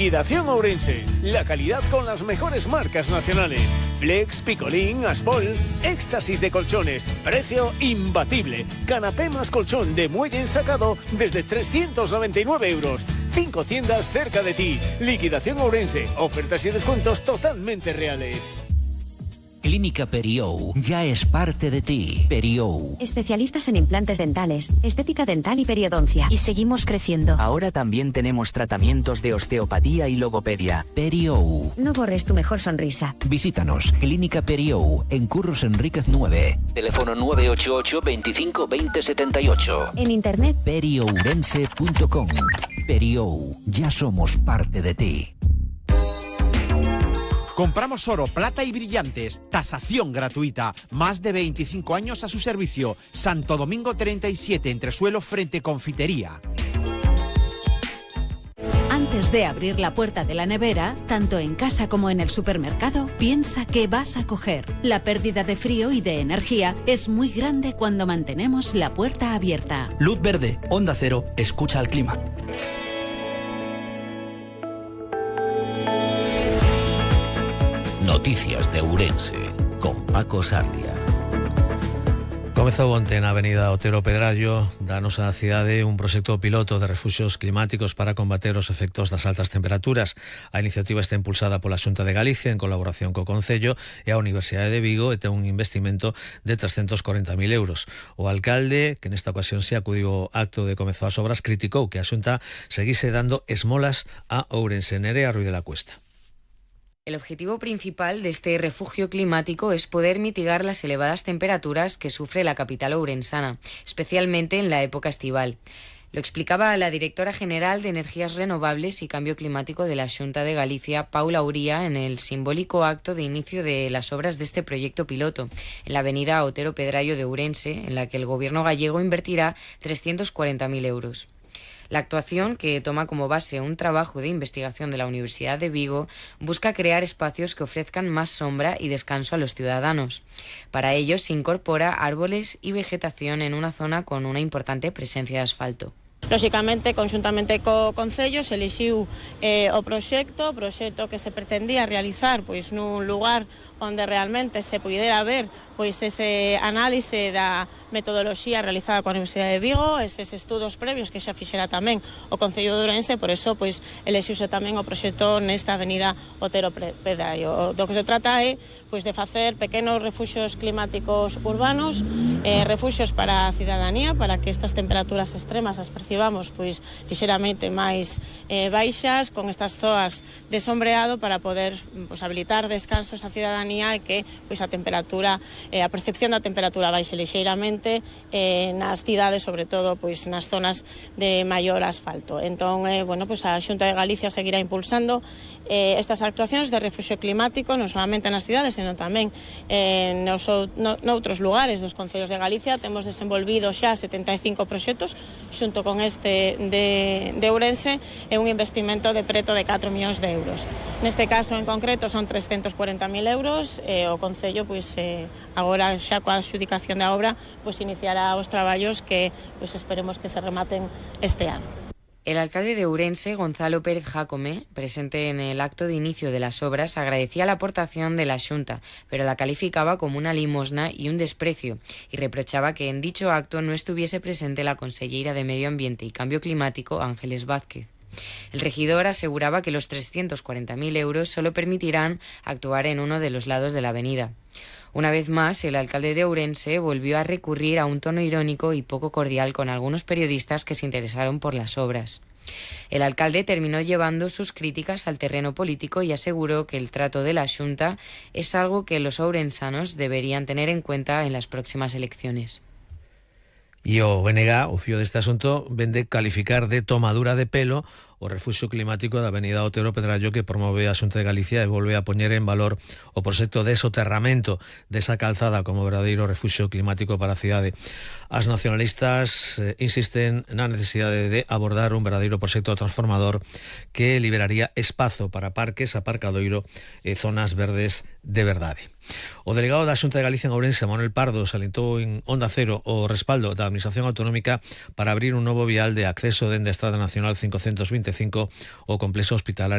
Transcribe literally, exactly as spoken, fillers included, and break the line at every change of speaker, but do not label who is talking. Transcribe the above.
Liquidación Ourense. La calidad con las mejores marcas nacionales. Flex, Picolín, Aspol. Éxtasis de colchones. Precio imbatible. Canapé más colchón de muelle ensacado desde trescientos noventa y nueve euros. Cinco tiendas cerca de ti. Liquidación Ourense. Ofertas y descuentos totalmente reales.
Clínica Periou ya es parte de ti. Periou.
Especialistas en implantes dentales, estética dental y periodoncia.
Y seguimos creciendo.
Ahora también tenemos tratamientos de osteopatía y logopedia.
Periou.
No borres tu mejor sonrisa.
Visítanos. Clínica Periou, en Curros Enríquez nueve.
Teléfono nueve ocho ocho, veinticinco, veinte, setenta y ocho.
En internet
periourense punto com. Periou. Ya somos parte de ti.
Compramos oro, plata y brillantes. Tasación gratuita. Más de veinticinco años a su servicio. Santo Domingo treinta y siete, Entresuelo, frente Confitería.
Antes de abrir la puerta de la nevera, tanto en casa como en el supermercado, piensa qué vas a coger. La pérdida de frío y de energía es muy grande cuando mantenemos la puerta abierta.
Luz verde, Onda Cero, escucha al clima.
Noticias de Ourense, con Paco Sarria.
Comezou onte na avenida Otero Pedrallo da nosa cidade un proxecto piloto de refuxios climáticos para combater os efectos das altas temperaturas. A iniciativa está impulsada pola Xunta de Galicia en colaboración co Concello e a Universidade de Vigo e ten un investimento de trescentos corenta mil euros. O alcalde, que nesta ocasión se acudiu ao acto de comezo as obras, criticou que a Xunta seguise dando esmolas a Ourense. Nerea Ruiz de la Cuesta.
El objetivo principal de este refugio climático es poder mitigar las elevadas temperaturas que sufre la capital ourensana, especialmente en la época estival. Lo explicaba la directora general de Energías Renovables y Cambio Climático de la Xunta de Galicia, Paula Uría, en el simbólico acto de inicio de las obras de este proyecto piloto, en la avenida Otero Pedrallo de Ourense, en la que el gobierno gallego invertirá trescientos cuarenta mil euros. La actuación, que toma como base un trabajo de investigación de la Universidad de Vigo, busca crear espacios que ofrezcan más sombra y descanso a los ciudadanos. Para ello se incorpora árboles y vegetación en una zona con una importante presencia de asfalto.
Lóxicamente, conxuntamente co Concello, se elixiu eh, o proxecto, o proxecto que se pretendía realizar pois nun lugar onde realmente se pudera ver pois ese análise da metodoloxía realizada coa Universidade de Vigo, eses estudos previos que xa fixera tamén o Concello de Ourense, por eso pois elixiuse tamén o proxecto nesta avenida Otero Pedrallo. Do que se trata é pois de facer pequenos refuxios climáticos urbanos, eh, refuxios para a cidadanía, para que estas temperaturas extremas as percibamos pois lixeramente máis eh, baixas, con estas zoas de sombreado para poder pois habilitar descansos á cidadanía e que pois a temperatura eh, a percepción da temperatura baixe lixeiramente eh, nas cidades, sobre todo pois nas zonas de maior asfalto. Entón, eh, bueno, pois a Xunta de Galicia seguirá impulsando eh, estas actuacións de refugio climático, non solamente nas cidades, senón tamén eh, nos, no, noutros lugares dos concellos de Galicia. Temos desenvolvido xa setenta e cinco proxectos xunto con este de, de Ourense e un investimento de preto de catro millóns de euros. Neste caso en concreto son trescentos cuarenta mil euros e o Concello pois eh, agora xa coa adxudicación da obra pois iniciará os traballos que pois esperemos que se rematen este ano.
El alcalde de Ourense, Gonzalo Pérez Jácome, presente en el acto de inicio de las obras, agradecía la aportación de la Xunta, pero la calificaba como una limosna y un desprecio, y reprochaba que en dicho acto no estuviese presente la conselleira de Medio Ambiente y Cambio Climático, Ángeles Vázquez. El regidor aseguraba que los trescientos cuarenta mil euros solo permitirán actuar en uno de los lados de la avenida. Una vez más, el alcalde de Ourense volvió a recurrir a un tono irónico y poco cordial con algunos periodistas que se interesaron por las obras. El alcalde terminó llevando sus críticas al terreno político y aseguró que el trato de la Xunta es algo que los ourensanos deberían tener en cuenta en las próximas elecciones.
E o B N G, o fío deste asunto, vende calificar de tomadura de pelo o refuxio climático da avenida Otero Pedrallo que promove a Xunta de Galicia e volve a poñer en valor o proxecto de soterramento desa calzada como verdadeiro refuxio climático para a cidade. As nacionalistas eh, insisten na necesidade de abordar un verdadeiro proxecto transformador que liberaría espazo para parques, aparcadoiro e zonas verdes de verdade. O delegado da Xunta de Galicia en Ourense, Manuel Pardo, salientou en Onda Cero o respaldo da Administración Autonómica para abrir un novo vial de acceso dende a Estrada Nacional cincocentos vinte e cinco ao complexo hospitalario